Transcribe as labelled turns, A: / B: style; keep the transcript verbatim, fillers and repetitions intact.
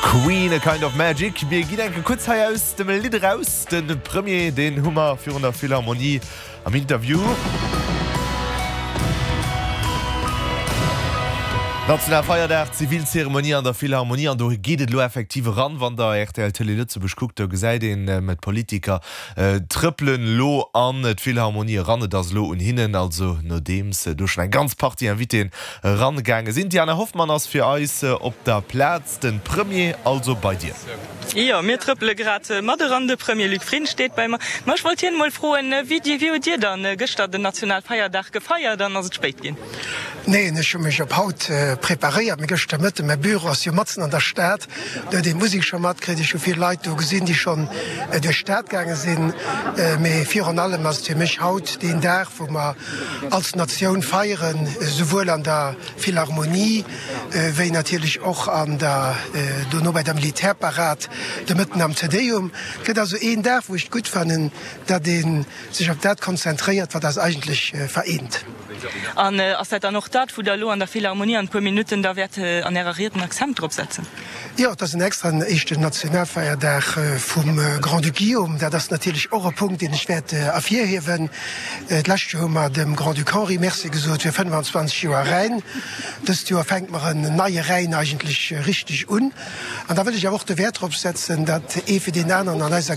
A: Queen, A Kind of Magic. Mir ginn eng Kéier kuerz hei aus dem Lidd eraus. De Premier, deen hu mer virun der Philharmonie am Interview. Nationalfeierdag, Zivilzeremonie an der Philharmonie an do geet et elo effektiv eran. Wann der rtl Télé Lëtzebuerg kuckt, do gesäit een d'Politiker trëppelen elo an d'Philharmonie eran. Et ass elo un hinnen, also nodeems do schonn eng ganz Partie Invitéen erangaange sinn. D'Diana Hoffmann ass fir eis op der Plaz. De Premier also bei dir.
B: Jo, mir trëppele grad mat eran. De Premier Luc Frieden steet bei mer. Ma ech wollt hien emol froen, wéi wéi hutt Dir dann gëschter den Nationalfeierdag gefeiert an ass et spéit ginn?
C: Neen, ech hu mech op haut preparéiert, mee gëschter Mëtten, mäi Büro ass jo matzen an der Stad, do huet een d'Musek scho matkritt. Ech hu vill Leit do gesinn, déi schonn duerch d'Stad gaange sinn. Mee virun allem ass et fir mech haut deen Dag, wou mer als Natioun feieren, esouwuel an der Philharmonie wéi natierlech och an der, dono bei der Militärparad de Mëtten am Te Deum. Et gëtt also een Dag, wou ech et gutt fannen, datt ee sech op dat konzentréiert, wat eis eigentlech vereent.
B: An ass dat dann och dat, wou Der elo an der Philharmonie an e puer Minutten da wäert an Ärer Ried den Accent drop setzen?
C: Jo, et ass en extraen éischten Nationalfeierdag vum Grand-Duc Guillaume. Dat ass natierlech och e Punkt, deen ech wäert ervirhiewen. D'lescht Joer hu mer dem Grand-Duc Henri Merci gesot fir fënnfanzwanzeg Joer Rhäin. Dëst Joer fänkt mer en neie Rhäin eigentlech richteg un. An da wëll ech awer och de Wäert drop setzen, datt ee fir deen aneren an eiser.